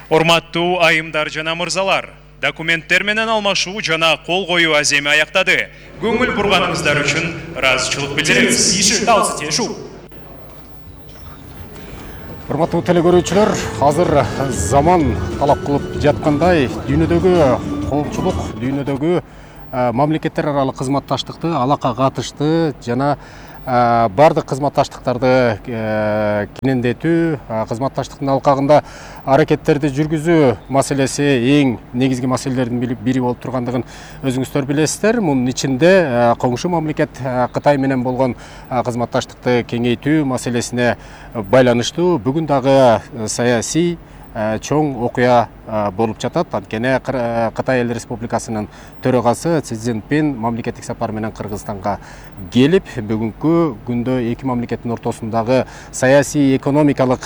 Урматтуу айымдар жана мырзалар, документтер менен алмашуу жана кол коюу аземи аяктады. Көңүл бурганыңыздар үчүн ыраазычылык билдиребиз. Урматтуу телекөрүүчүлөр, азыр заман талап кылып жаткандай дүйнөдөгү коомчулук, дүйнөдөгү мамлекеттер аралык кызматташтыкты алака катышты жана бардык кызматташтыктарды кенендетүү, кызматташтыктын алкагында аракеттерди жүргүзүү маселеси эң негизги маселелердин бири болуп тургандыгын өзүңүздөр билесиздер. Мунун ичинде коңшу мамлекет Кытай менен болгон кызматташтыкты кеңейтүү маселесине байланыштуу бүгүн дагы саясий чоң окуя болуп жатат. Анткени Кытай Эл Республикасынын төрагасы Си Цзиньпин мамлекеттик сапар менен Кыргызстанга келип, бүгүнкү күндө эки мамлекеттин ортосундагы саясий, экономикалык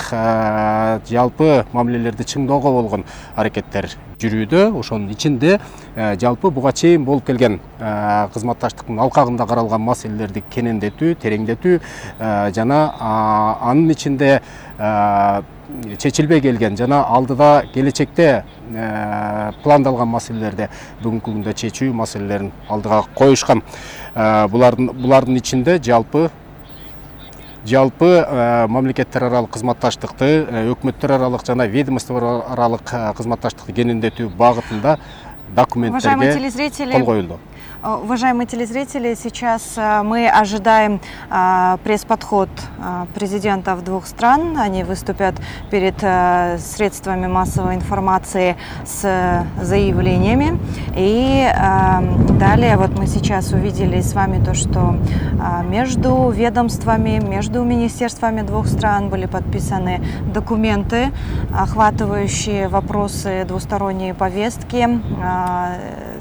жалпы мамилелерди чыңдоого болгон аракеттер жүрүүдө. Ошонун ичинде жалпы буга чейин болуп келген кызматташтыктын алкагында каралган маселелерди кенендетүү, тереңдетүү жана анын ичинде чечилбей келген жана алдыда келечекте пландалган маселелерди бүгүнкү күндө чечүү маселелерин алдыга коюшкан. Булардын ичинде жалпы мамлекеттер аралык кызматташтыкты, өкмөттөр аралык жана ведомство аралык кызматташтыкты кенендетүү багытында документтерге кол коюлду. Уважаемые телезрители, сейчас мы ожидаем пресс-подход президентов двух стран. Они выступят перед средствами массовой информации с заявлениями. И далее вот мы сейчас увидели с вами то, что между ведомствами, между министерствами двух стран были подписаны документы, охватывающие вопросы двусторонней повестки.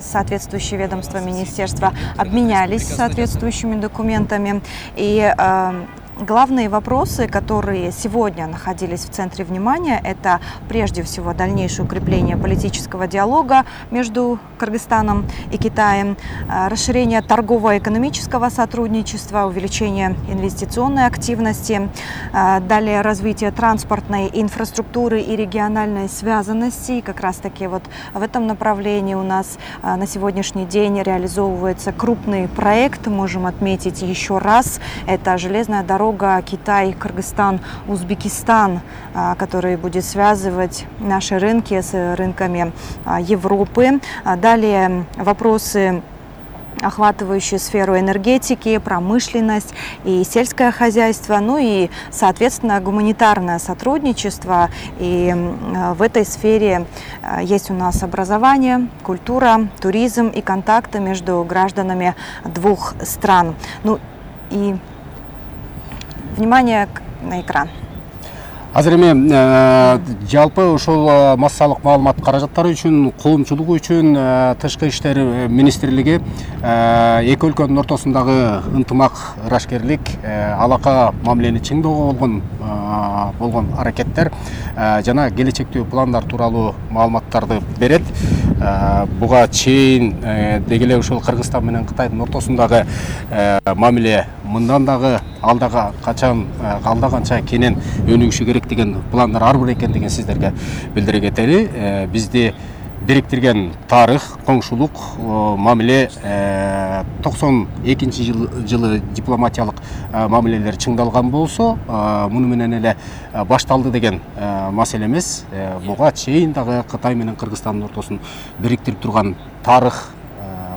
Соответствующие ведомства, министерства обменялись соответствующими документами. И главные вопросы, которые сегодня находились в центре внимания, это прежде всего дальнейшее укрепление политического диалога между Кыргызстаном и Китаем, расширение торгово-экономического сотрудничества, увеличение инвестиционной активности, далее развитие транспортной инфраструктуры и региональной связанности. И как раз таки вот в этом направлении у нас на сегодняшний день реализовывается крупный проект. Можем отметить еще раз, это железная дорога Китай, Кыргызстан, Узбекистан, который будет связывать наши рынки с рынками Европы. Далее вопросы, охватывающие сферу энергетики, промышленность и сельское хозяйство, ну и, соответственно, гуманитарное сотрудничество. И в этой сфере есть у нас образование, культура, туризм и контакты между гражданами двух стран. Ну и внимание на экран. Азыр эми жалпы ушул массалык маалымат каражаттары үчүн, коомчулугу үчүн Тышкы иштер министрлиги эки өлкөнүн ортосундагы ынтымак, ырашкерлик, алака мамилени чыңдоого болгон аракеттер жана келечектүү пландар тууралуу маалыматтарды берет. Буга чейин деги эле ушул Кыргызстан менен Кытайдын ортосундагы мамиле мындан дагы алда канча кенен өнүгүшү керек деген пландар ар бир экендигин сиздерге билдире кетели. Бизди бириктирген тарых, коңшулук, мамиле 92-жылы дипломатиялык мамилелер чыңдалган болсо, муну менен эле башталды деген маселе эмес. Буга чейин дагы Кытай менен Кыргызстандын ортосун бириктирип турган тарых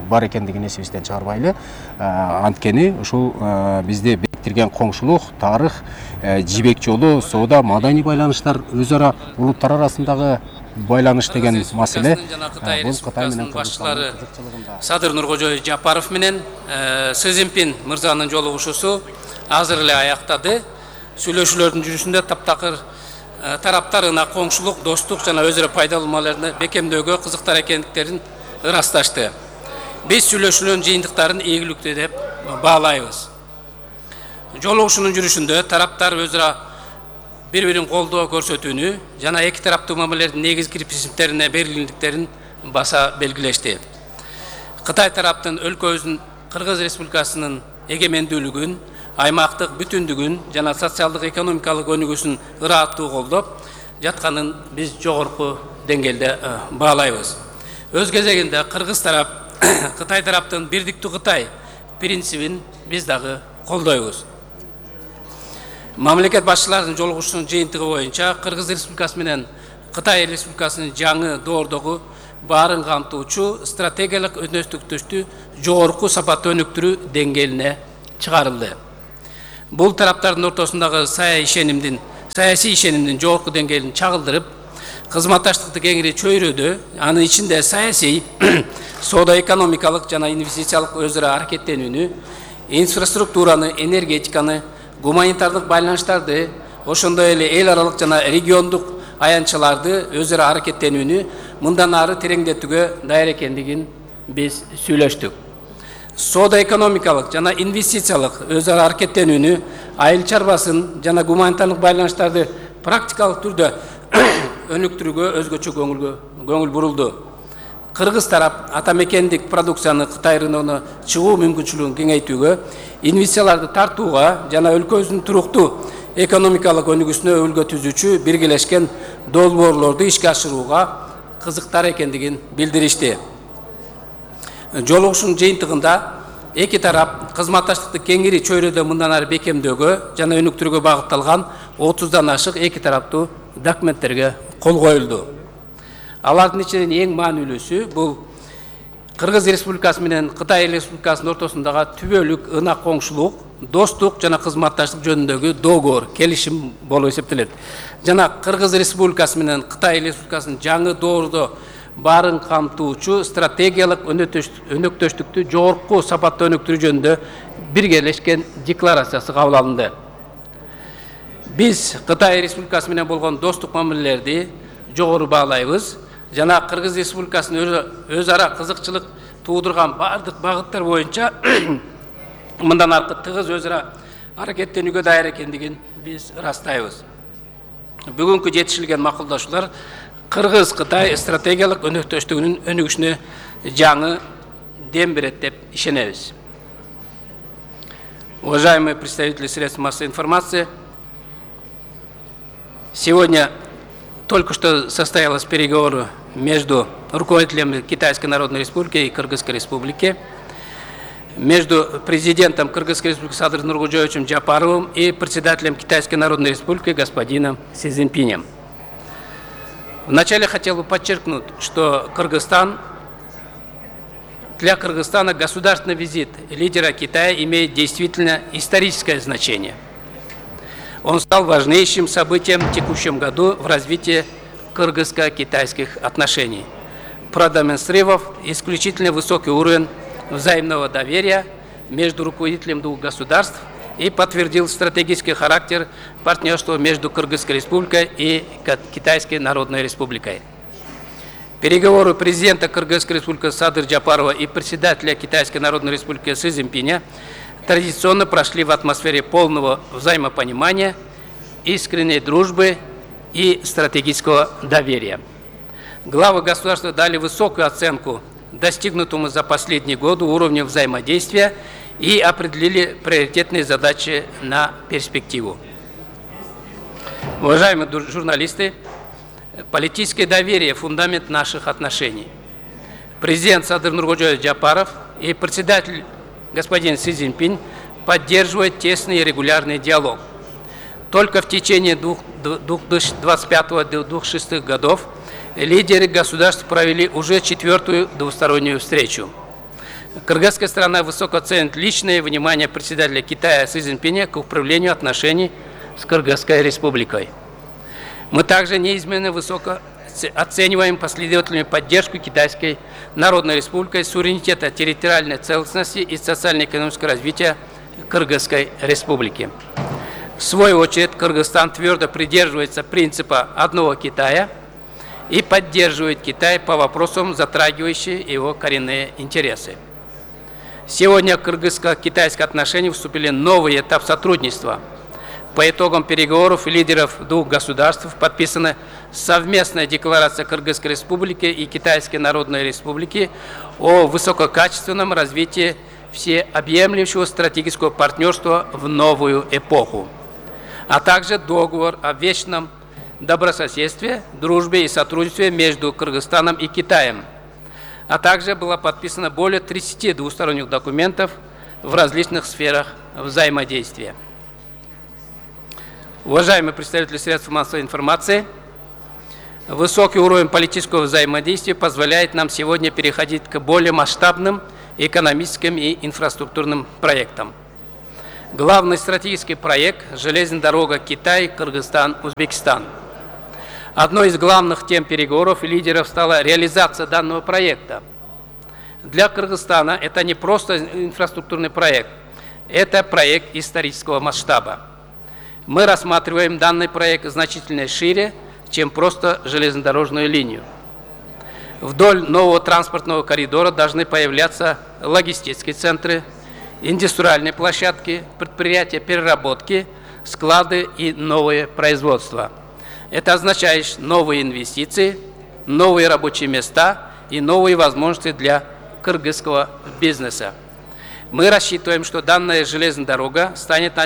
бар экендигин эсибизден чыгарбайлы. Анткени ушул бизди бириктирген коңшулук, тарых, жибек жолу, соода, маданий байланыштар, өз ара улуттар арасындагы байланыш деген маселе бул Кытай менен башчылары Садыр Нуркожоев Жапаров менен Си Цзиньпин мырзанын жолугушуусу азыр эле аяктады. Сүйлөшүүлөрдүн жүрүшүндө таптакыр тараптар ына коңшулук, достук жана өз ара пайдалуу маалерни бекемдөөгө кызыктар экендиктерин ырасташты. Биз сүйлөшүүлөрдүн жыйынтыктарын ийгиликтүү деп баалайбыз. Жолугушуунун жүрүшүндө тараптар өз ара бири-бирин колдоо көрсөтүүнү жана эки тараптуу мамилелердин негизги принциптерине берилгендиктерин баса белгилешти. Кытай тараптын өлкөбүздүн Кыргыз Республикасынын эгемендүүлүгүн, аймактык бүтүндүгүн жана социалдык экономикалык өнүгүүсүн ыраттуу колдоп, жатканын биз жогорку деңгээлде баалайбыз. Өз кезегинде Кыргыз тарап Кытай тараптын бирдиктүү Кытай принцибин биз дагы колдойбуз. Мамлекет башчыларынын жолугушуунун жыйынтыгы боюнча Кыргыз Республикасы менен Кытай Республикасынын жаңы доордогу баарын камтуучу стратегиялык өнөктөштүктү жогорку сапаттуу өнүктүрүү деңгээлине чыгарылды. Бул тараптардын ортосундагы саясий ишенимдин жогорку деңгээлин чагылдырып, кызматташтыкты кеңири чөйрөдө, анын ичинде саясий, соода-экономикалык жана инвестициялык өзү ара аракеттенүүнү, инфраструктураны, энергетиканы, гуманитардык байланыштарды, ошондой эле эл аралык жана региондук аянтчаларды өзү ара аракеттенүүнү мындан ары тереңдетүүгө даяр экендигин биз сүйлөштүк. Соода-экономикалык жана инвестициялык өзү ара аракеттенүүнү, айыл чарбасын жана гуманитардык байланыштарды практикалык түрдө өнүктүрүүгө өзгөчө көңүл бурулду. Кыргыз тарап атамекендик продукцияны Кытай рыногуна чыгуу мүмкүнчүлүгүн кеңейтүүгө, инвестицияларды тартууга жана өлкөбүздүн туруктуу экономикалык өнүгүүсүнө өбөлгө түзүүчү биргелешкен долбоорлорду ишке ашырууга кызыктар экендигин билдиришти. Жолугушуунун жыйынтыгында эки тарап кызматташтыкты кеңири чөйрөдө мындан ары бекемдөөгө жана өнүктүрүүгө багытталган 30дан ашык эки тараптуу документтерге кол коюлду. Алардын ичинен эң маанилүүсү бул Кыргыз Республикасы менен Кытай Республикасынын ортосундагы түбөлүк ынак коңшулук, достук жана кызматташтык жөнүндөгү доогор, келишим болуп эсептелет. Жана Кыргыз Республикасы менен Кытай Республикасынын жаңы доордо баарын камтуучу стратегиялык өнөктөштүктү жогорку сапаттуу өнүктүрүү жөнүндө биргелешкен декларациясы кабыл алынды. Биз Кытай Республикасы менен болгон достук мамилелерди жогору баалайбыз жана Кыргыз Республикасынын өз ара кызыкчылык туудурган бардык багыттар боюнча мындан аркы тыгыз өз ара аракеттенүүгө даяр экендигин биз ырастайбыз. Бүгүнкү жетишилген макулдашуулар Кыргыз-Кытай стратегиялык өнөктөштүгүнүн өнүгүшүнө жаңы дем берет деп ишенебиз. Уважаемые представители средств массовой информации, сегодня только что состоялось переговоры между руководителем Китайской Народной Республики и Кыргызской Республики, между президентом Кыргызской Республики Садыром Нуркожоевичем Джапаровым и председателем Китайской Народной Республики господином Си Цзиньпинем. Вначале хотел бы подчеркнуть, что для Кыргызстана государственный визит лидера Китая имеет действительно историческое значение. Он стал важнейшим событием в текущем году в развитии кыргызско-китайских отношений, продемонстрировав исключительно высокий уровень взаимного доверия между руководителями двух государств и подтвердил стратегический характер партнерства между Кыргызской Республикой и Китайской Народной Республикой. Переговоры президента Кыргызской Республики Садыр Джапарова и председателя Китайской Народной Республики Си Цзиньпиня традиционно прошли в атмосфере полного взаимопонимания, искренней дружбы и стратегического доверия. Главы государства дали высокую оценку достигнутому за последние годы уровню взаимодействия и определили приоритетные задачи на перспективу. Уважаемые журналисты, политическое доверие – фундамент наших отношений. Президент Садыр Нуркожоевич Джапаров и председатель господин Си Цзиньпинь поддерживают тесный и регулярный диалог. Только в течение 2025-2026 годов лидеры государств провели уже 4-ю двустороннюю встречу. Кыргызская сторона высоко ценит личное внимание председателя Китая Си Цзиньпиня к управлению отношений с Кыргызской Республикой. Мы также неизменно высоко оцениваем последовательную поддержку Китайской Народной Республики, суверенитета, территориальной целостности и социально-экономического развития Кыргызской Республики. В свою очередь, Кыргызстан твердо придерживается принципа одного Китая и поддерживает Китай по вопросам, затрагивающим его коренные интересы. Сегодня в кыргызско-китайские отношения вступили в новый этап сотрудничества. По итогам переговоров лидеров двух государств подписана совместная декларация Кыргызской Республики и Китайской Народной Республики о высококачественном развитии всеобъемлющего стратегического партнерства в новую эпоху, а также договор о вечном добрососедстве, дружбе и сотрудничестве между Кыргызстаном и Китаем, а также было подписано более 30 двусторонних документов в различных сферах взаимодействия. Уважаемые представители средств массовой информации, высокий уровень политического взаимодействия позволяет нам сегодня переходить к более масштабным экономическим и инфраструктурным проектам. Главный стратегический проект – железная дорога Китай, Кыргызстан, Узбекистан. Одной из главных тем переговоров и лидеров стала реализация данного проекта. Для Кыргызстана это не просто инфраструктурный проект, это проект исторического масштаба. Мы рассматриваем данный проект значительно шире, чем просто железнодорожную линию. Вдоль нового транспортного коридора должны появляться логистические центры, индустриальные площадки, предприятия переработки, склады и новые производства. Это означает новые инвестиции, новые рабочие места и новые возможности для кыргызского бизнеса. Мы рассчитываем, что данная железная дорога станет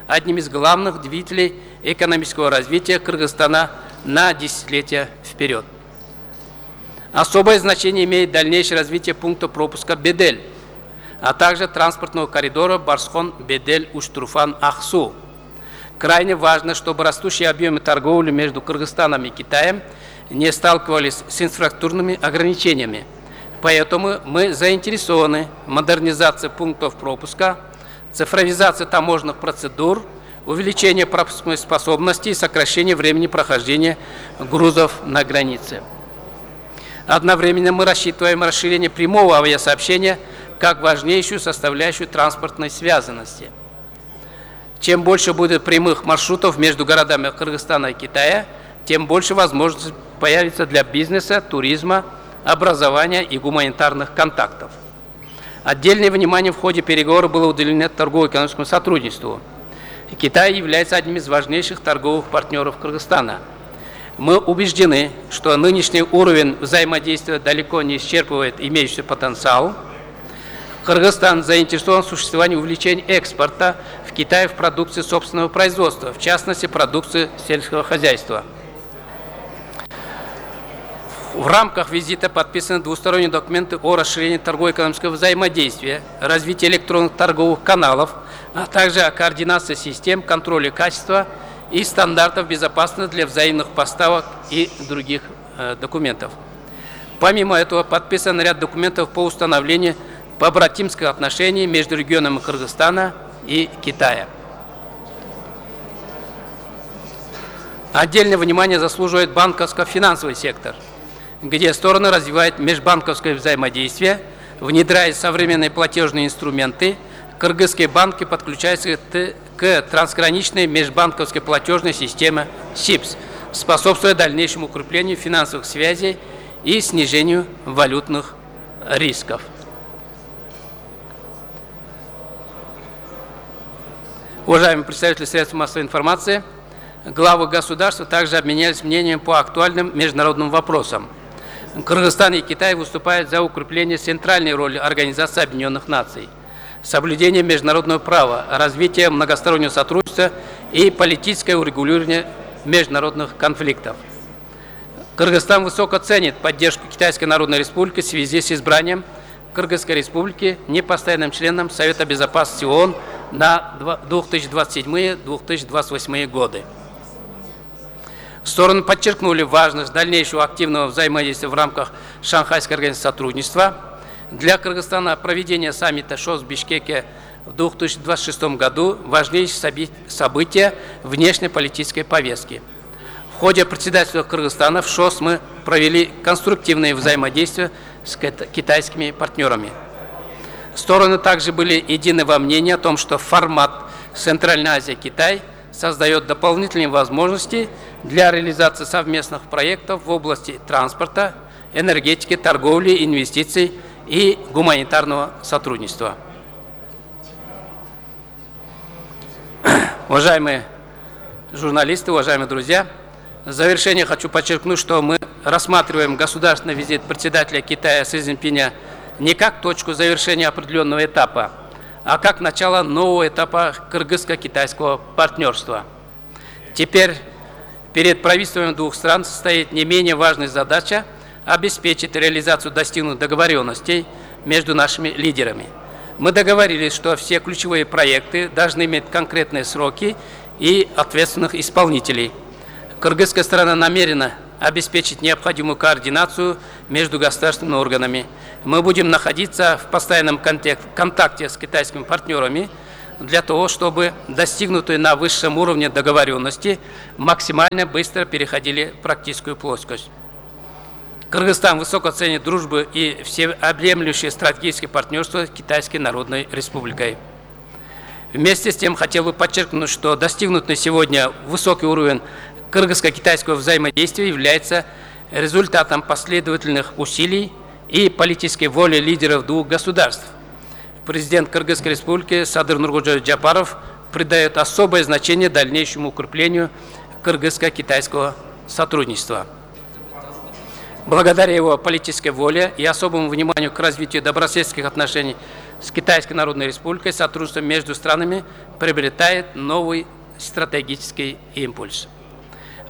одним из главных двигателей экономического развития Кыргызстана на десятилетия вперед. Особое значение имеет дальнейшее развитие пункта пропуска Бедель, а также транспортного коридора Барсхон-Бедель-Уштруфан-Ахсу. Крайне важно, чтобы растущие объемы торговли между Кыргызстаном и Китаем не сталкивались с инфраструктурными ограничениями. Поэтому мы заинтересованы в модернизации пунктов пропуска, цифровизации таможенных процедур, увеличении пропускной способности и сокращении времени прохождения грузов на границе. Одновременно мы рассчитываем расширение прямого авиасообщения как важнейшую составляющую транспортной связанности. Чем больше будет прямых маршрутов между городами Кыргызстана и Китая, тем больше возможностей появится для бизнеса, туризма, образования и гуманитарных контактов. Отдельное внимание в ходе переговоров было уделено торгово-экономическому сотрудничеству. Китай является одним из важнейших торговых партнеров Кыргызстана. Мы убеждены, что нынешний уровень взаимодействия далеко не исчерпывает имеющийся потенциал. Кыргызстан заинтересован в существовании увеличения экспорта в Китай в продукции собственного производства, в частности, продукции сельского хозяйства. В рамках визита подписаны двусторонние документы о расширении торгово-экономического взаимодействия, развитии электронных торговых каналов, а также о координации систем контроля качества и стандартов безопасности для взаимных поставок и других документов. Помимо этого, подписан ряд документов по установлению побратимских отношений между регионами Кыргызстана и Китая. Отдельное внимание заслуживает банковско-финансовый сектор, где стороны развивают межбанковское взаимодействие, внедряя современные платежные инструменты. Кыргызские банки подключаются к трансграничной межбанковской платежной системе СИПС, способствуя дальнейшему укреплению финансовых связей и снижению валютных рисков. Уважаемые представители средств массовой информации, главы государства также обменялись мнением по актуальным международным вопросам. Кыргызстан и Китай выступают за укрепление центральной роли Организации Объединенных Наций, соблюдение международного права, развитие многостороннего сотрудничества и политическое урегулирование международных конфликтов. Кыргызстан высоко ценит поддержку Китайской Народной Республики в связи с избранием Кыргызской Республики непостоянным членом Совета Безопасности ООН на 2027-2028 годы. Стороны подчеркнули важность дальнейшего активного взаимодействия в рамках Шанхайской организации сотрудничества. Для Кыргызстана проведение саммита ШОС в Бишкеке в 2026 году – важнейшее событие внешнеполитической повестки. В ходе председательства Кыргызстана в ШОС мы провели конструктивные взаимодействия с китайскими партнерами. Стороны также были едины во мнении о том, что формат Центральная Азия-Китай создает дополнительные возможности для реализации совместных проектов в области транспорта, энергетики, торговли, инвестиций и гуманитарного сотрудничества. Уважаемые журналисты, уважаемые друзья, в завершение хочу подчеркнуть, что мы рассматриваем государственный визит председателя Китая Си Цзиньпиня не как точку завершения определенного этапа, а как начало нового этапа кыргызско-китайского партнерства. Теперь перед правительствами двух стран стоит не менее важная задача обеспечить реализацию достигнутых договоренностей между нашими лидерами. Мы договорились, что все ключевые проекты должны иметь конкретные сроки и ответственных исполнителей. Кыргызская сторона намерена обеспечить необходимую координацию между государственными органами. Мы будем находиться в постоянном контакте с китайскими партнерами для того, чтобы достигнутые на высшем уровне договоренности максимально быстро переходили в практическую плоскость. Кыргызстан высоко ценит дружбу и всеобъемлющее стратегическое партнерство с Китайской Народной Республикой. Вместе с тем хотел бы подчеркнуть, что достигнутый сегодня высокий уровень кыргызско-китайского взаимодействия является результатом последовательных усилий и политической воли лидеров двух государств. Президент Кыргызской Республики Садыр Нуркожоевич Жапаров придает особое значение дальнейшему укреплению кыргызско-китайского сотрудничества. Благодаря его политической воле и особому вниманию к развитию добрососедских отношений с Китайской Народной Республикой, сотрудничество между странами приобретает новый стратегический импульс.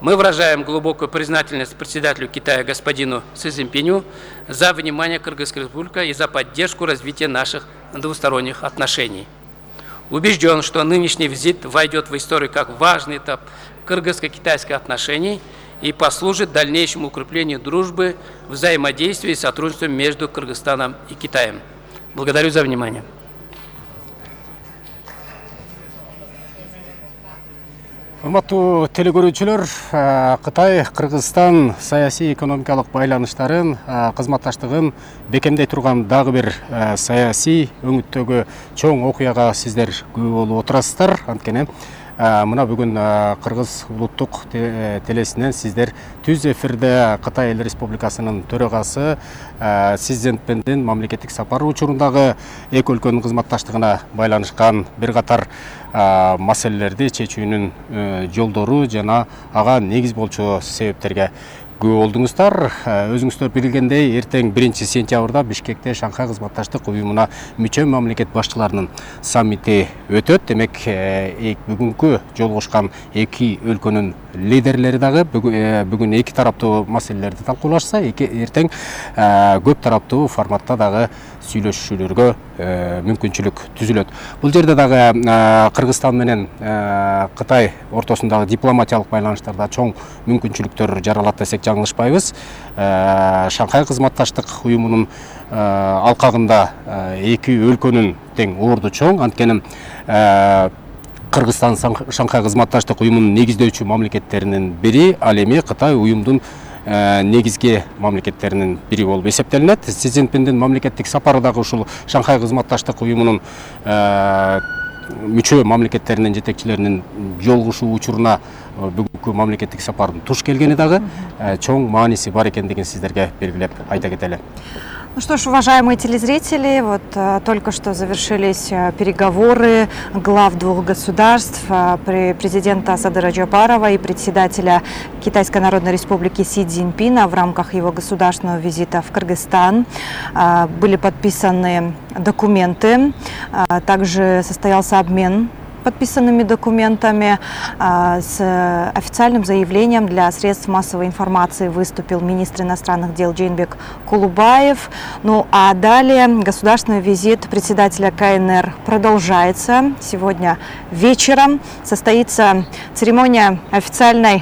Мы выражаем глубокую признательность председателю Китая господину Си Цзиньпиню за внимание Кыргызской Республики и за поддержку развития наших двусторонних отношений. Убежден, что нынешний визит войдет в историю как важный этап кыргызско-китайских отношений и послужит дальнейшему укреплению дружбы, взаимодействия и сотрудничества между Кыргызстаном и Китаем. Благодарю за внимание. Урматтуу телекөрүүчүлөр, Кытай Кыргызстан саясий экономикалык байланыштарын, кызматташтыгын бекемдей турган дагы бир саясий өңүттөгү чоң окуяга сиздер күбө болуп отурасыздар. Анткени мына бүгүн Кыргыз улуттук телесинен сиздер түз эфирде Кытай Эл Республикасынын төрагасы Си Цзиньпиндин мамлекеттик сапары учурундагы эки өлкөнүн кызматташтыгына байланышкан бир катар маселелерди чечүүнүн жолдору жана ага негиз болчу себептерге күбө болдуңуздар. Өзүңүздөр билгендей, эртең 1-сентябрда Бишкекте Шанхай кызматташтык уюмуна мүчө мамлекет башчыларынын саммити өтөт. Демек, бүгүнкү жолугушкан эки өлкөнүн лидерлери дагы бүгүн эки тараптуу маселелерди талкуулашса, эртең көп тараптуу форматта дагы сүйлөшүүлөргө мүмкүнчүлүк түзүлөт. Бул жерде дагы Кыргызстан менен Кытай ортосундагы дипломатиялык байланыштарда чоң мүмкүнчүлүктөр жаралат десек жаңылышпайбыз. Шанхай кызматташтык уюмунун алкагында эки өлкөнүн тең орду чоң. Анткени Кыргызстан Шанхай кызматташтык уюмунун негиздөөчү мамлекеттеринин бири, ал эми Кытай уюмдун негизги мамлекеттеринин бири болуп эсептелинет. Си Цзиньпиндин мамлекеттик сапары дагы ушул Шанхай кызматташтык уюмунун мүчө мамлекеттеринин жетекчилеринин жолугушуу учуруна бүгүнкү мамлекеттик сапардын туш келгени дагы чоң мааниси бар экендигин сиздерге белгилеп айта кетели. Ну что ж, уважаемые телезрители, вот только что завершились переговоры глав двух государств, президента Садыра Жапарова и председателя Китайской Народной Республики Си Цзиньпина в рамках его государственного визита в Кыргызстан. Были подписаны документы, также состоялся обмен подписанными документами. С официальным заявлением для средств массовой информации выступил министр иностранных дел Джейнбек Кулубаев. Ну а далее государственный визит председателя КНР продолжается. Сегодня вечером состоится церемония официального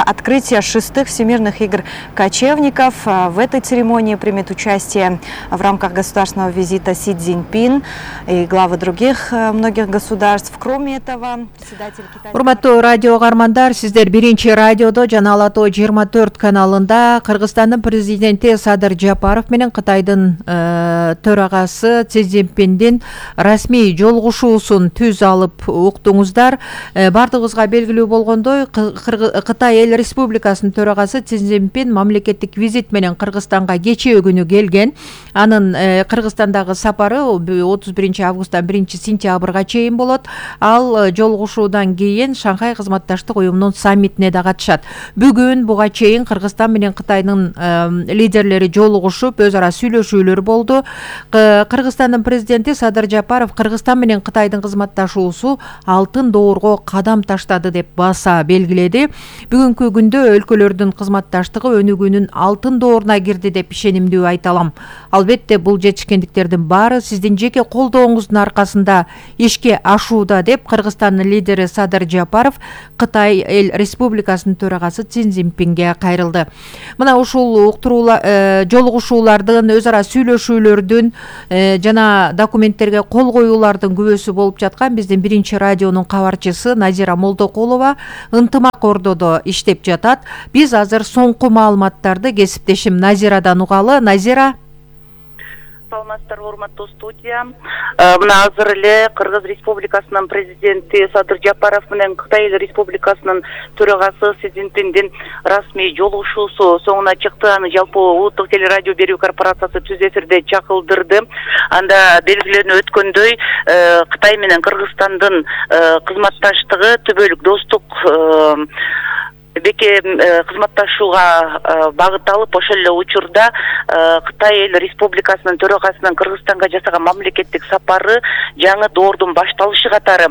открытия 6-х Всемирных игр кочевников. В этой церемонии примет участие в рамках государственного визита Си Цзиньпин и главы других многих государств. Кроме этого, председатель Китая... Урматтуу радио каармандар, сиздер биринчи радиодо жана Ала Тоо 24 каналында Кыргызстандын президенти Садыр Жапаров менен Кытайдын төрагасы Си Цзиньпиндин расмий жолугушуусун түз алып уктуңуздар. Бардыгыбызга белгилүү болгондой, Кытай Эл Республикасынын төрагасы Си Цзиньпин мамлекеттик визит менен Кыргызстанга кечээ күнү келген. Анын Кыргызстандагы сапары 31 августтан 1 сентябрга октябрга чейин болот. Ал жолугушуудан кийин Шанхай кызматташтык уюмунун саммитине да катышат. Бүгүн буга чейин Кыргызстан менен Кытайдын лидерлери жолугушуп, өз ара сүйлөшүүлөр болду. Кыргызстандын президенти Садыр Жапаров Кыргызстан менен Кытайдын кызматташуусу алтын доорго кадам таштады деп баса белгиледи. Бүгүнкү күндө өлкөлөрдүн кызматташтыгы өнүгүүнүн алтын дооруна кирди деп ишенимдүү айта алам. Албетте бул жетишкендиктердин баары сиздин жеке колдооңуздун аркасында ишке ашууда деп Кыргызстандын лидери Садыр Жапаров Кытай эл республикасынын төрагасы Си Цзиньпинге кайрылды. Мына ушул жолугушуулардын, өз ара сүйлөшүүлөрдүн жана документтерге кол коюулардын күбөсү болуп жаткан биздин биринчи радионун кабарчысы Назира Молдокулова ынтымак ордодо иштеп жатат. Биз азыр соңку маалыматтарды кесиптешим Назирадан угалы. Назира. Саламатсыздарбы, урматтуу студия. Мына азыр эле Кыргыз Республикасынын президенти Садыр Жапаров менен Кытай Республикасынын төрагасы Си Цзиньпиндин расмий жолугушуусу соңуна чыкты. Аны жалпы улуттук телерадио берүү корпорациясы түз эфирде чакылдырды. Анда белгиленип өткөндөй, Кытай менен Кыргызстандын кызматташтыгы түбөлүк достук беке кызматташууга багытталып, ошол эле учурда Кытай эл республикасынын төрагасынын Кыргызстанга жасаган мамлекеттик сапары жаңы доордун башталышы катары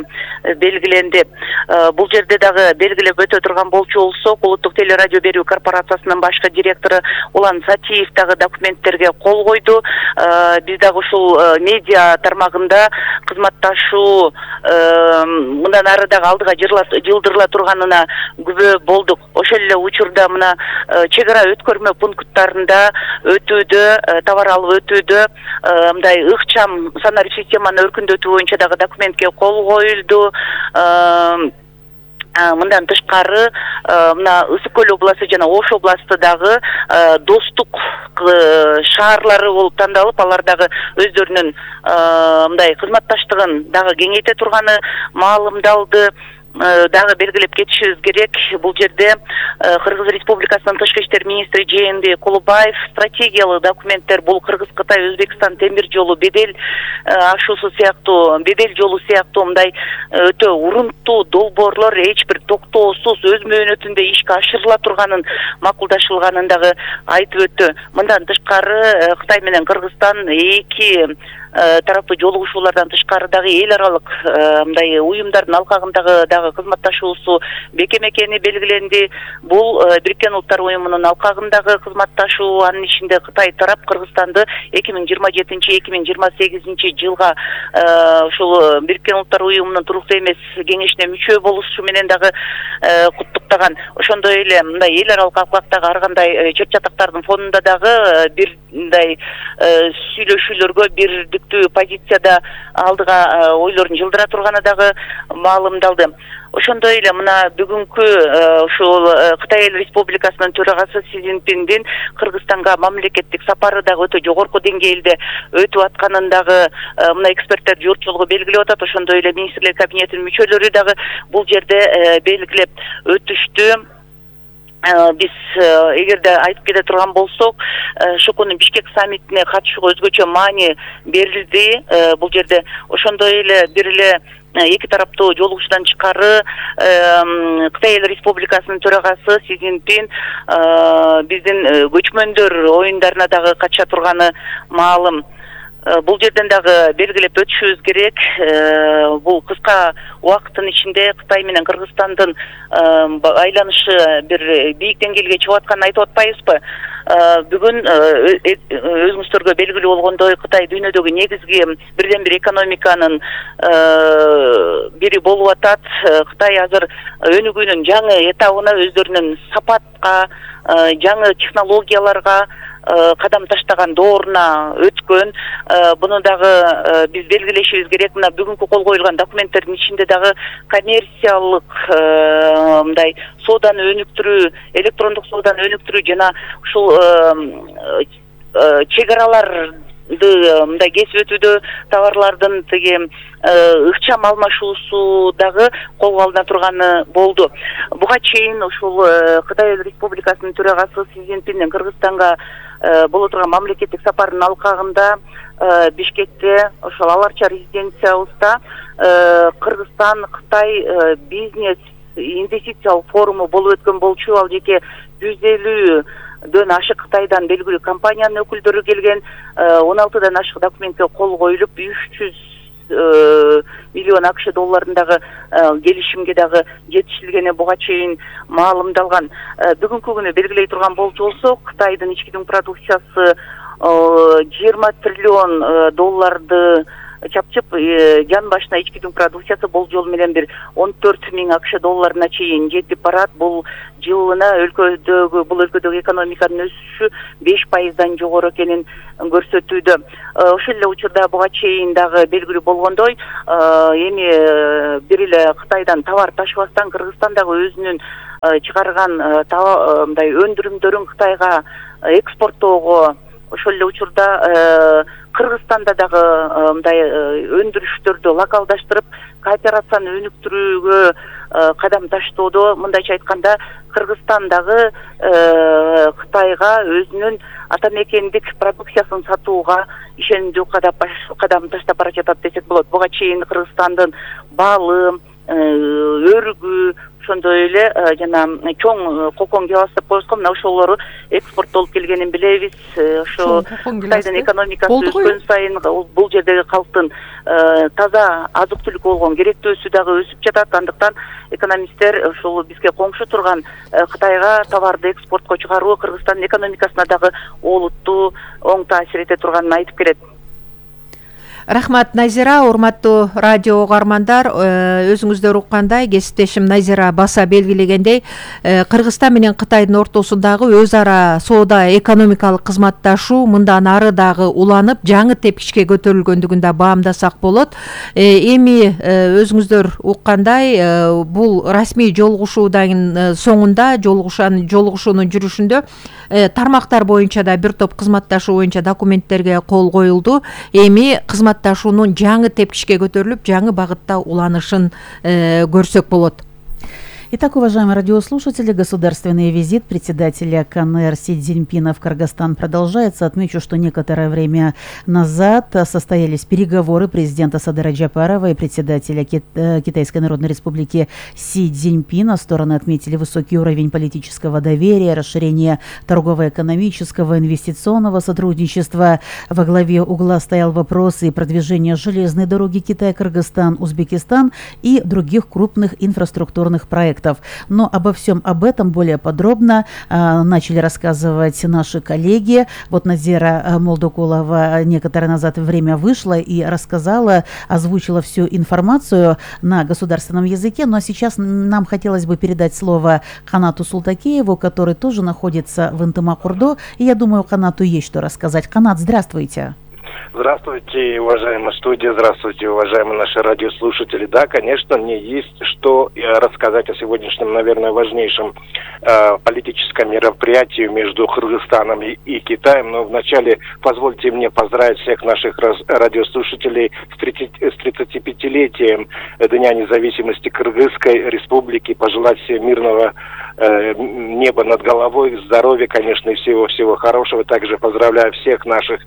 белгиленди. Бул жерде дагы белгилеп өтө турган болчу болсок, улуттук телерадио берүү корпорациясынын башкы директору Улан Сатиев дагы документтерге кол койду. Биз дагы ушул медиа тармагында кызматташуу мындан ары дагы алдыга жылдырыла турганына күбө болдук. Ошол эле учурда мына чек ара өткөрмө пункттарында өтүүдө, товар алып өтүүдө мындай ыкчам санарип системаны өркүндөтүү боюнча дагы документке кол коюлду. Мындан тышкары мына Ысык көл областы жана Ош областы дагы достук шаарлары болуп тандалып, алар дагы өздөрүнүн мындай кызматташтыгын дагы кеңейте турганы маалымдалды. Дагы белгилеп кетишибиз керек, бул жерде Кыргыз Республикасынын тышкы иштер министри Жээнбек Кулубаев стратегиялык документтер, бул Кыргыз-Кытай Өзбекстан темир жолу бедел ашуусу сыяктуу, бедел жолу сыяктуу мындай өтө урунттуу долбоорлор эч бир токтоосуз өз мөөнөтүндө ишке ашырыла турганын макулдашылганын дагы айтып өттү. Мындан тышкары Кытай менен Кыргызстан эки тараптуу жолугушуулардан тышкары дагы эл аралык мындай уюмдардын алкагындагы дагы кызматташуусу бекем экени белгиленди. Бул Бириккен Улуттар уюмунун алкагындагы кызматташуу, анын ичинде Кытай тарап Кыргызстанды 2027-2028 жылга ушул Бириккен Улуттар уюмунун туруктуу эмес кеңешине мүчө болушу менен дагы куттуктаган. Ошондой эле мындай эл аралык алкактагы ар кандай чет жатактардын фонунда дагы бир мындай сүйлөшүүлөргө бирдиктүү позицияда алдыга ойлорун жылдыра турганы дагы маалымдалды. Ошондой эле мына бүгүнкү ушул Кытай эл республикасынын төрагасы Си Цзиньпиндин Кыргызстанга мамлекеттик сапары дагы өтө жогорку деңгээлде өтүп атканын дагы мына эксперттер журтчулугу белгилеп атат. Ошондой эле министрлер кабинетинин мүчөлөрү дагы бул жерде белгилеп өтүштү. Биз эгерде айтып кете турган болсок, Шокунун Бишкек саммитине катышууга өзгөчө маани берилди. Бул жерде ошондой эле бир эле эки тараптуу жолугушуудан тышкары Кытай эл республикасынын төрагасы Си Цзиньпин биздин көчмөндөр оюндарына дагы катыша турганы маалым. Бул жерден дагы белгилеп өтүшүбүз керек. Бул кыска убакыттын ичинде Кытай менен Кыргызстандын айланышы бир бийик деңгээлге чыгып атканын айтып атпайбызбы? Бүгүн өзүңүздөргө белгилүү болгондой, Кытай дүйнөдөгү негизги бирден бир экономиканын бири болуп атат. Кытай азыр өнүгүүнүн жаңы этабына, өздөрүнүн сапатка, жаңы технологияларга кадам таштаган дооруна өткөн. Буну дагы биз белгилешибиз керек. Мына бүгүнкү кол коюлган документтердин ичинде дагы коммерциялык мындай сооданы өнүктүрүү, электрондук сооданы өнүктүрүү жана ушул чек араларды мындай кесип өтүүдө товарлардын тиги ыкчам алмашуусу дагы колго алына турганы болду. Буга чейин ушул Кытай Республикасынын төрагасы Си Цзиньпиндин Кыргызстанга боло турган мамлекеттик сапардын алкагында Бишкекте ошол Аларча резиденциябызда Кыргызстан Кытай бизнес инвестициялык форуму болуп өткөн болчу. Ал жеке 150дөн ашык Кытайдан белгилүү компаниянын өкүлдөрү келген. 16дан ашык документке кол коюлуп 300 миллион АКШ долларындагы келишимге дагы жетишилгени буга чейин маалымдалган. Бүгүнкү күнү белгилей турган болсок, Кытайдын ички дүң продукциясы 20 триллион долларды чапчып, жан башына ички дүң продукциясы болжол менен бир 14 миң АКШ долларына чейин жетип барат. Бул жылына бул өлкөдөгү экономиканын өсүшү 5%дан жогору экенин көрсөтүүдө. Ошол эле учурда буга чейин дагы белгилүү болгондой, эми бир эле Кытайдан товар ташыбастан Кыргызстан дагы өзүнүн чыгарган мындай өндүрүмдөрүн Кытайга экспорттоого, ошол эле учурда Кыргызстанда дагы мындай өндүрүштөрдү локалдаштырып, кооперацияны өнүктүрүүгө кадам таштоодо. Мындайча айтканда, Кыргызстан дагы Кытайга өзүнүн ата мекендик продукциясын сатууга ишенимдүү кадам таштап бара жатат десек болот. Буга чейин Кыргызстандын балы, өрүгү, ошондой эле жана чоң кокон кебас деп коебузго, мына ошолору экспорттолуп келгенин билебиз. Ошо Кытайдын экономикасы өскөн сайын бул жердеги калктын таза азык-түлүк болгон керектөөсү дагы өсүп жатат. Андыктан экономисттер ошол бизге коңшу турган Кытайга товарды экспортко чыгаруу Кыргызстандын экономикасына дагы олуттуу оң таасир эте турганын айтып келет. Рахмат, Назира. Урматтуу радио угармандар, өзүңүздөр уккандай, кесиптешим Назира баса белгилегендей, Кыргызстан менен Кытайдын ортосундагы өз ара соода экономикалык кызматташуу мындан ары дагы уланып, жаңы тепкичке көтөрүлгөндүгүн да баамдасак болот. Эми өзүңүздөр уккандай, бул расмий жолугушуудан соңунда, жолугушуунун жүрүшүндө тармактар боюнча да бир топ кызматташуу боюнча документтерге кол коюлду. Эми кызматташуунун жаңы тепкичке көтөрүлүп, жаңы багытта уланышын көрсөк болот. Итак, уважаемые радиослушатели, государственный визит председателя КНР Си Цзиньпина в Кыргызстан продолжается. Отмечу, что некоторое время назад состоялись переговоры президента Садыра Джапарова и председателя Китайской Народной Республики Си Цзиньпина. Стороны отметили высокий уровень политического доверия, расширение торгово-экономического, инвестиционного сотрудничества. Во главе угла стоял вопрос и продвижения железной дороги Китай-Кыргызстан, Узбекистан и других крупных инфраструктурных проектов. Но обо всем об этом более подробно начали рассказывать наши коллеги. Вот Назира Молдокулова некоторое назад время вышла и рассказала, озвучила всю информацию на государственном языке. Ну а сейчас нам хотелось бы передать слово Канату Султакееву, который тоже находится в Ынтымак-Ордо. И я думаю, Канату есть что рассказать. Канат, здравствуйте. Здравствуйте, уважаемая студия, здравствуйте, уважаемые наши радиослушатели. Да, конечно, мне есть что рассказать о сегодняшнем, наверное, важнейшем политическом мероприятии между Кыргызстаном и Китаем. Но вначале позвольте мне поздравить всех наших радиослушателей с 35-летием Дня независимости Кыргызской Республики, пожелать всем мирного неба над головой, здоровья, конечно, и всего-всего хорошего. Также поздравляю всех наших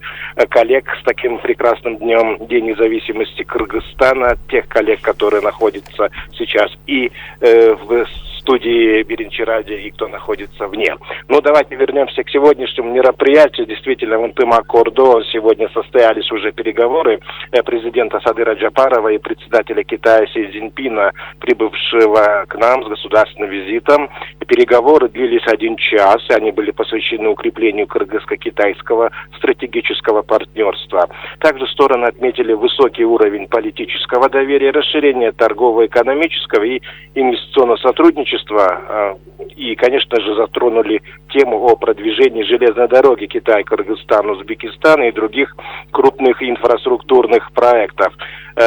коллег с таким прекрасным днем, День независимости Кыргызстана, тех коллег, которые находятся сейчас и в студии Биринчи Радио, и кто находится вне. Ну, давайте вернемся к сегодняшнему мероприятию. Действительно, в Ынтымак-Ордо сегодня состоялись уже переговоры президента Садыра Джапарова и председателя Китая Си Цзиньпина, прибывшего к нам с государственным визитом. Переговоры длились 1 час, и они были посвящены укреплению кыргызско-китайского стратегического партнерства. Также стороны отметили высокий уровень политического доверия, расширение торгово-экономического и инвестиционного сотрудничества, и, конечно же, затронули тему о продвижении железной дороги Китай-Кыргызстан, Узбекистан и других крупных инфраструктурных проектов.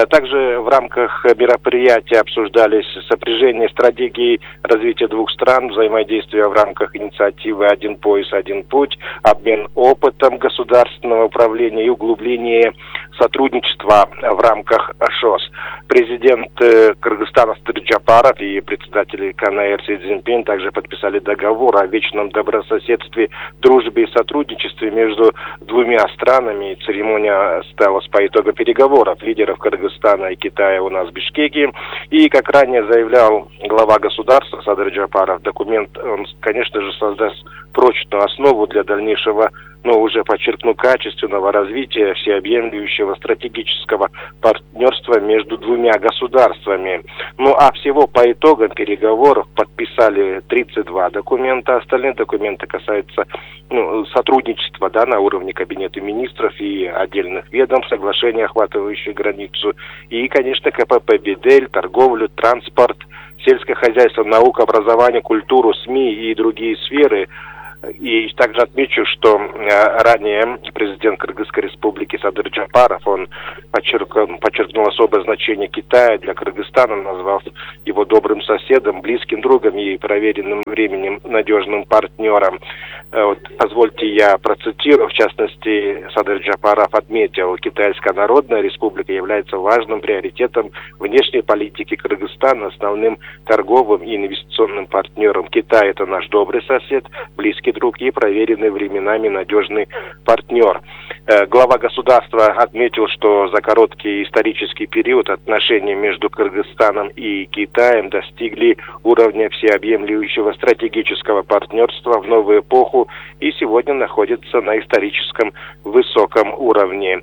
Также в рамках мероприятия обсуждались сопряжение стратегий развития двух стран, взаимодействие в рамках инициативы «Один пояс, один путь», обмен опытом государственного управления и углубление сотрудничества в рамках ШОС. Президент Кыргызстана Садыр Жапаров и председатель КНР Си Цзиньпин также подписали договор о вечном добрососедстве, дружбе и сотрудничестве между двумя странами. Церемония стала по итогам переговоров лидеров Кыргызстана и Китая у нас в Бишкеке. И, как ранее заявлял глава государства Садыр Джапаров, документ, он, конечно же, создаст прочную основу для дальнейшего, но уже подчеркну, качественного развития всеобъемлющего стратегического партнерства между двумя государствами. Ну а всего по итогам переговоров подписали 32 документа. Остальные документы касаются сотрудничества на уровне Кабинета министров и отдельных ведомств, соглашения, охватывающие границу. И, конечно, КПП «Бидель», торговлю, транспорт, сельское хозяйство, наука, образование, культуру, СМИ и другие сферы. И также отмечу, что ранее президент Кыргызской республики Садыр Джапаров, он подчеркнул особое значение Китая для Кыргызстана, назвав его добрым соседом, близким другом и проверенным временем надежным партнером. Вот, позвольте я процитирую, в частности, Садыр Джапаров отметил, Китайская Народная Республика является важным приоритетом внешней политики Кыргызстана, основным торговым и инвестиционным партнером. Китай – это наш добрый сосед, близкий друг и проверенный временами надежный партнер. Глава государства отметил, что за короткий исторический период отношения между Кыргызстаном и Китаем достигли уровня всеобъемлющего стратегического партнерства в новую эпоху и сегодня находятся на историческом высоком уровне.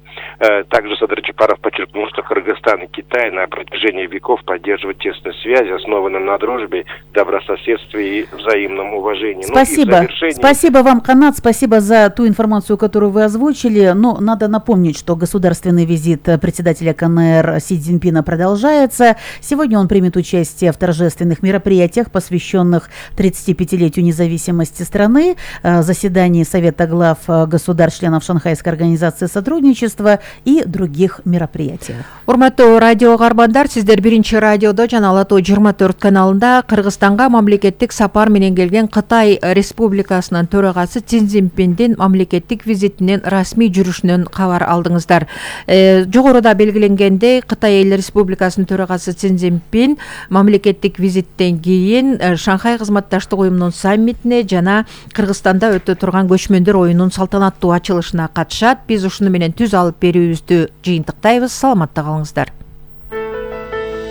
Также Садыр Джапаров подчеркнул, что Кыргызстан и Китай на протяжении веков поддерживают тесные связи, основанные на дружбе, добрососедстве и взаимном уважении. Спасибо. Спасибо вам, Канат, спасибо за ту информацию, которую вы озвучили. Но надо напомнить, что государственный визит председателя КНР Си Цзиньпина продолжается. Сегодня он примет участие в торжественных мероприятиях, посвященных 35-летию независимости страны, заседании Совета глав государств-членов Шанхайской организации сотрудничества и других мероприятиях. Урматтуу радио карбандар, сиздер биринчи радиодо жана Ала Тоо 24 каналында Кыргызстанга мамлекеттик сапар менен келген Кытай Республикасынын төрагасы Си Цзиньпиндин мамлекеттик визитинин расмий жүрүшүнөн кабар алдыңыздар. Жогоруда белгиленгендей, Кытай Эл Республикасынын төрагасы Си Цзиньпин мамлекеттик визиттен кийин Шанхай кызматташтык уюмунун саммитине жана Кыргызстанда өтө турган көчмөндөр оюнунун салтанаттуу ачылышына катышат. Биз ушуну менен түз алып берүүбүздү жыйынтыктайбыз. Саламатта калыңыздар.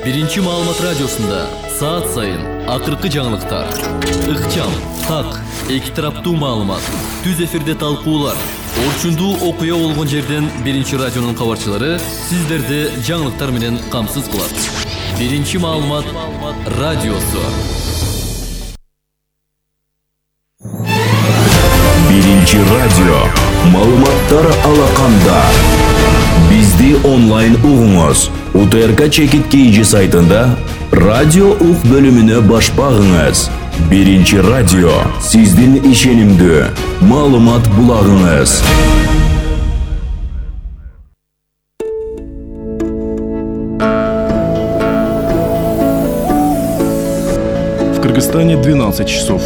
Биринчи маалымат радиосунда саат сайын акыркы жаңылыктар, ыкчам, так, эки тараптуу маалымат, түз эфирде талкуулар, орчундуу окуя болгон жерден биринчи радионун кабарчылары сиздерди жаңылыктар менен камсыз кылат. Биринчи маалымат радиосу. Биринчи радио маалыматтар алаканда. Бизди онлайн угуңуз. УТРК Чекит KG сайтында радио ук бөлүмүнө баш багыңыз. Биринчи радио сиздин ишенимдүү маалымат булагыңыз. В Кыргызстане 12 часов.